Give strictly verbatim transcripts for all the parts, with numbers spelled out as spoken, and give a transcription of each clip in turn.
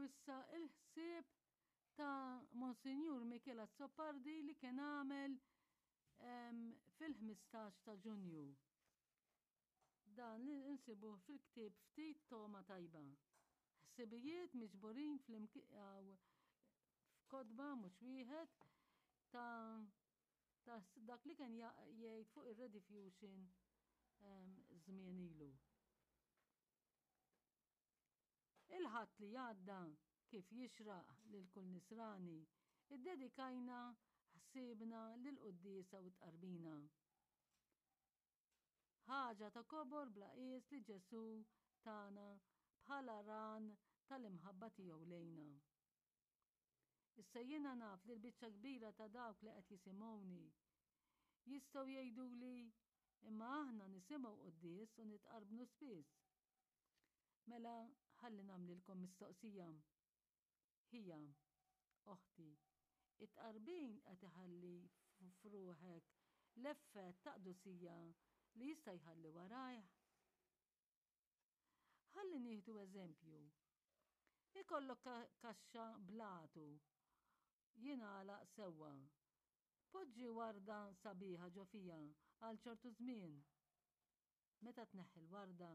issa il-ħsieb ta' Monsinjur Michel Azzopardi li kien għamel fil-ħmistax ta' Ġunju. Dan li nsibuh fil-ktieb Ftit Togħma Tajba. Ħsibijiet miġburin f'kotba mhux wieħed ta' ta' dak li kien jgħid fuq ir-rediffusion żmien ilu. Il-Ħadd li għadda, kif jixraq lil kull Nisrani, iddedikajna ħsiebna lill-quddiesa u t-tqarbina. Ħaġa ta' kobor bla qies li Ġesù tana bħala ran tal-imħabba tiegħu lejna. Issa jiena naf li l-biċċa kbira ta' dawk li qed jisimgħuni jistgħu jgħiduli imma aħna nisimgħu quddies u nitqarbnu spiss. Mela ħalli nagħmlilkom mistoqsija. Ħija, oħti, it-tqarbin qed iħalli f'ruħek l-effett ta' qdusija li jista' jħalli warajh? Ħalli nieħdu eżempju. Ikollok kaxxa blatu jingħalaq sewwa. Poġġi warda sabiħa ġo fiha għal ċertu żmien. Meta tneħħi l-warda,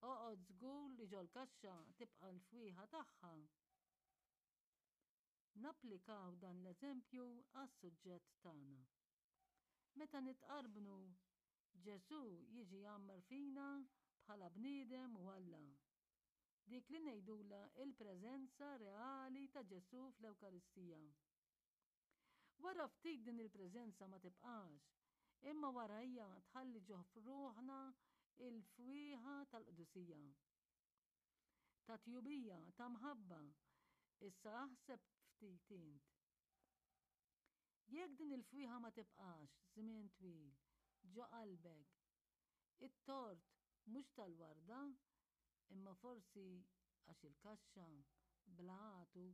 oqgħod żgur li ġol-kaxxa tibqa' l-fwieħa tagħha. Napplikaw dan l-eżempju għas-suġġett tagħna. Meta nitqarbnu, Ġesù jiġi jgħammar fina bħala bniedem u Alla. Dik li ngħidulha il-preżenza reali ta' Ġesù fl-Ewkaristija. Wara ftit din il-preżenza ma tibqax, imma warajja tħalli ġo f'ruħna il-fwieħa tal-qdusija. Ta' tjubija, ta' mħabba. Issa aħseb ftit int. Jekk din il-fwieħa ma tibqax żmien twil ġo qalbek, it-tort mhux tal-warda, imma forsi għax il-kaxxa bla għatu.